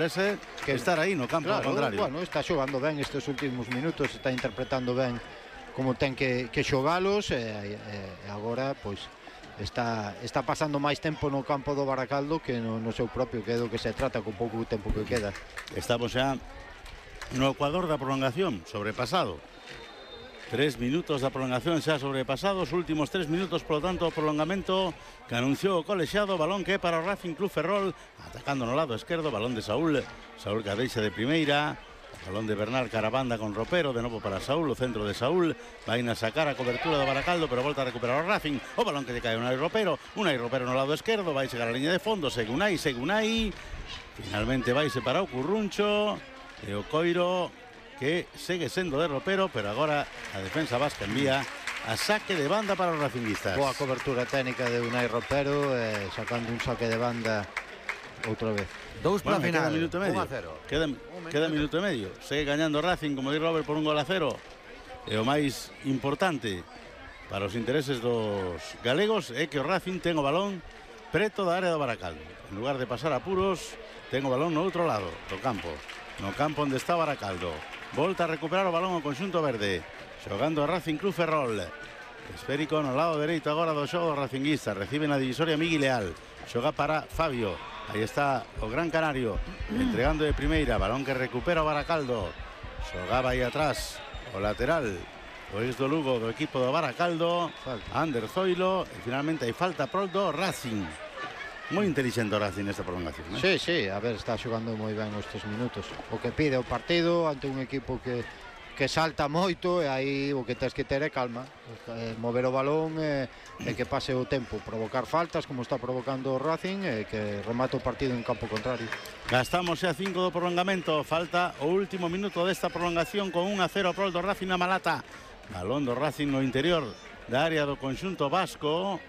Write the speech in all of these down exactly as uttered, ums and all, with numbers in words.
interesa que estar aí no campo, claro, ao contrario. Bueno, está xogando ben estes últimos minutos, está interpretando ben como ten que, que xogalos, e, e agora, pois, está, está pasando máis tempo no campo do Baracaldo que no, no seu propio, que é do que se trata con pouco tempo que queda. Estamos xa no ecuador da prolongación, sobrepasado. Tres minutos da prolongación xa sobrepasados, últimos tres minutos, polo tanto, o prolongamento que anunciou o colexiado, balón que é para o Racing Club Ferrol, atacando no lado esquerdo, balón de Saúl, Saúl que deixa de primeira, balón de Bernal Carabanda con Ropero, de novo para Saúl, o centro de Saúl, vai na sacar a cobertura do Baracaldo, pero volta a recuperar o Racing, o balón que lle cae Unai Ropero, Unai Ropero no lado esquerdo, vai chegar a liña de fondo, segue Unai, segue Unai, finalmente vai para o Curruncho, e o Coiro que segue sendo de Ropero, pero agora a defensa vasca envía a saque de banda para os racinguistas. Boa cobertura técnica de Unai Ropero, eh, sacando un saque de banda outra vez. Dous para bueno, final, queda minuto e medio. un a cero. Queda, queda minuto e medio. Segue gañando Racing, como di Robert, por un gol a cero. E o máis importante para os intereses dos galegos é que o Racing ten o balón preto da área do Baracaldo. En lugar de pasar apuros, ten o balón no outro lado do campo. No campo onde está Baracaldo. Volta a recuperar o balón ao conxunto verde. Xogando a Racing Club Ferrol. Esférico no lado dereito agora do xogo do racinguista. Recibe na divisoria Miguel Leal. Xoga para Fabio. Aí está o Gran Canario. Entregando de primeira. Balón que recupera o Baracaldo. Xogaba aí atrás o lateral. O ex do Lugo do equipo do Baracaldo. Falta. Ander Zoilo. E finalmente hai falta pro do Racing. Moi inteligente o Racing nesta prolongación, ¿eh? Sí, sí, a ver, está xogando moi ben estes minutos. O que pide o partido ante un equipo que, que salta moito, e aí o que tens que ter é calma, eh, mover o balón e, e que pase o tempo, provocar faltas como está provocando o Racing, e que remate o partido en campo contrario. Gastamos xa cinco do prolongamento, falta o último minuto desta prolongación con un a cero pro do Racing na Malata. Balón do Racing no interior da área do conxunto vasco.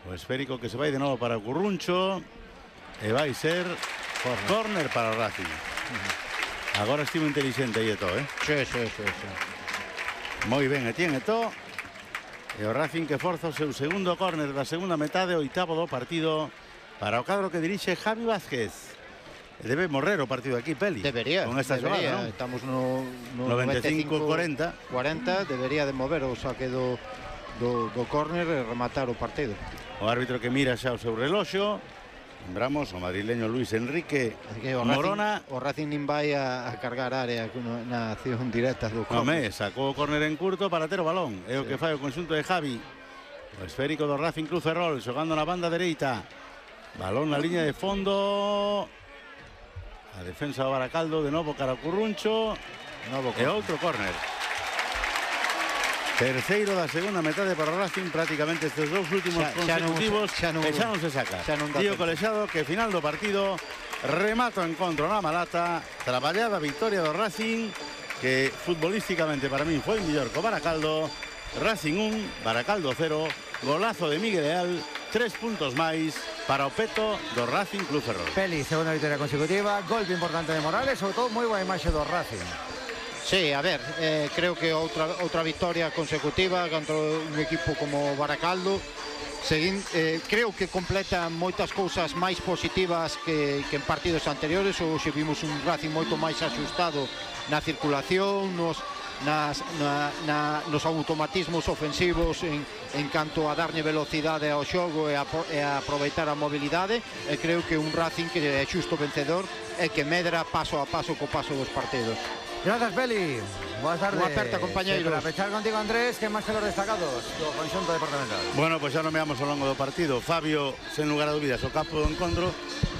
O esférico que se vai de novo para o Curruncho. E vai ser corner, corner para o Racing. Uh-huh. Agora estivo inteligente aí Eto, eh? Sí, sí, sí, sí. Moi ben, Etienne Eto. E o Racing que forza o seu segundo corner da segunda metade, oitavo do partido para o cadro que dirixe Javi Vázquez. Debe morrer o partido aquí, Peli. Debería, con esta debería. Xogada, ¿no? Estamos no, no noventa e cinco cuarenta. cuarenta, debería de mover o saque do, do, do córner e rematar o partido. O árbitro que mira xa o seu reloxo. Lembramos o madrileño Luis Enrique o Morona. Racing, o Racing nin vai a, a cargar área na acción directa do córner. Home, sacou o córner en curto para ter o balón. É o sí. que fai o conxunto de Javi. O esférico do Racing Club Ferrol, xogando na banda dereita. Balón na liña de fondo. A defensa do Baracaldo, de novo cara ao Curruncho. Novo e outro córner. Terceiro da segunda metade para o Racing, prácticamente estes dous últimos xa, consecutivos, xa non, xa non, e xa non se saca. Tío Colexado que final do partido remata o encontro na Malata, traballada victoria do Racing, que futbolísticamente para min foi mellor co Baracaldo. Racing un, Baracaldo cero, golazo de Miguel Leal, tres puntos máis para o peto do Racing Club Ferrol. Peli, segunda victoria consecutiva, golpe importante de Morales, sobre todo moi boa imaxe do Racing. Sí, a ver, eh, creo que outra, outra victoria consecutiva contra un equipo como Baracaldo. Seguín, eh, creo que completa moitas cousas máis positivas que, que en partidos anteriores. Hoxe vimos un Racing moito máis axustado na circulación, nos, nas, na, na, nos automatismos ofensivos en, en canto a darlle velocidade ao xogo e a, e a aproveitar a mobilidade. E creo que un Racing que é xusto vencedor e que medra paso a paso co paso dos partidos. Gracias, Peli. Buenas tardes. Unha aperta, compañeiros. Para pechar contigo, Andrés, que máis que los destacados do conxunto departamental. Bueno, pois pues xa nomeamos ao longo do partido. Fabio, sen lugar a dúbidas, o capo do encontro.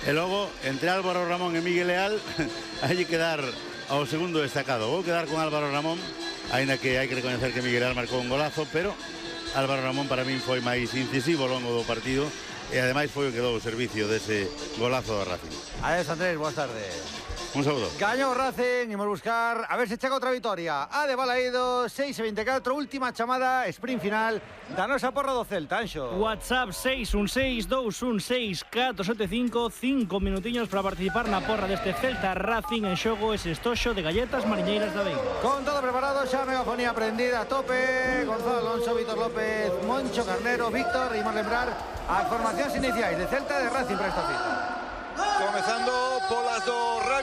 E logo, entre Álvaro Ramón e Miguel Leal, hai que dar ao segundo destacado. Vou quedar con Álvaro Ramón, aínda que hai que recoñecer que Miguel Leal marcou un golazo, pero Álvaro Ramón para min foi máis incisivo ao longo do partido e ademais foi o que dou o servicio dese golazo do Racing. Adiós, Andrés, boas tardes. Un saludo. Gañou Racing, imos buscar a ver se chega outra vitoria. A de Balaído, seis e veinticuatro, última chamada, sprint final da nosa porra do Celta, Anxo. WhatsApp seis un seis, dous un seis, catro sete cinco, cinco minutiños para participar na porra deste Celta Racing. En xogo ese estoxo de galletas mariñeiras da Veiga. Con todo preparado, xa megafonía prendida a tope. Gonzalo Alonso, Víctor López, Moncho Carnero, Víctor, imos lembrar as formacións iniciais de Celta e de Racing para esta cita. Comezando polas do